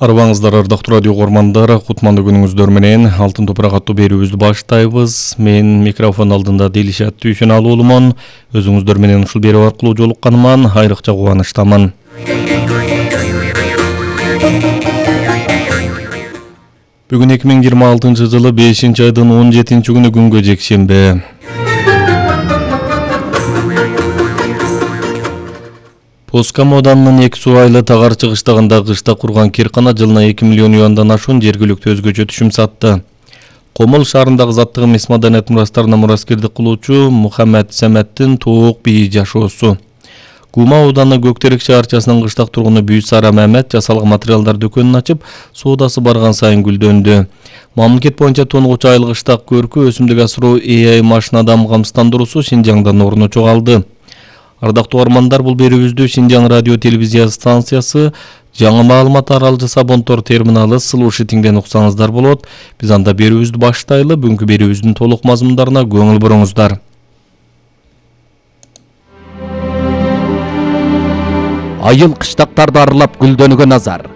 Арбаңыздар ардактуу радио көрмандар, кутмандуу күнүңүздөр менен Алтын топурак аттуу берүүбүздү баштайбыз. Мен микрофон алдында Делишат Түйшеналуулумун. Өзүңүздөр менен ушул берүү аркылуу жолукканыма айрыкча кубанычтамын. Бүгүн 2026 жылы 5-айдын 17-күнү күнгө жекшемби. Поска Моданын 2 суу айлы тагар чыгыштагында кышта курган киркана жылына 2 миллион юандан ашуун жергиликтүү өзгөчө түшүм сатты. Комул шаарындагы заттык эмес маданият мурастарына мураскердик кылуучу Мухаммед Саметтин туук бийи жашоосу. Кума ауданы Көктерек шаарчасынын кыштак тургуну Бүйсара Мамет жасалган материалдар дүкөнүн ачып, соодасы барган сайын гүлдөндү. Мамлекет боюнча тонугучу айыл кыштак көркү өсүмдүк асыруу AI машинадан камсыздандыруусу Шинжаңдан орун алды. Ардактуу армандар, бул берүүбүздү Шинжаң радио телевизия станциясы жаңы маалымат таралжы Сабонтор терминалы слушатиңден уксаңыздар болот. Биз анда берүүбүздү баштайлы. Бүгүнкү берүүбүздүн толук мазмундарына көңүл буруңуздар. Айыл кыштактарды аралап гүлдөнгөн назар.